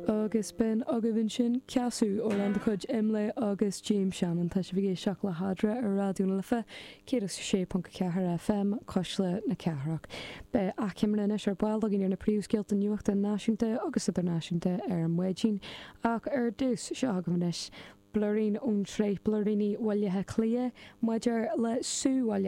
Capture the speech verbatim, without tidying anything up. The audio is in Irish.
Agus b'in agaibh ansin Ceasú amhrán de chuid Imlé agus James Shannon tá sibh ag éisteacht le hEadra ar Raidió na Life céad is sé ponc ceathair FM Cuisle na Cathrach. Beidh achoimre anois ar ball againn ar na príomhscéalta nuachta náisiúnta agus idirnáisiúnta ar maidin ach ar dtús seo agaibh anois blúirín ón tsraith Blúiríní Bhaile Átha Cliath maidir le Sú Bhaile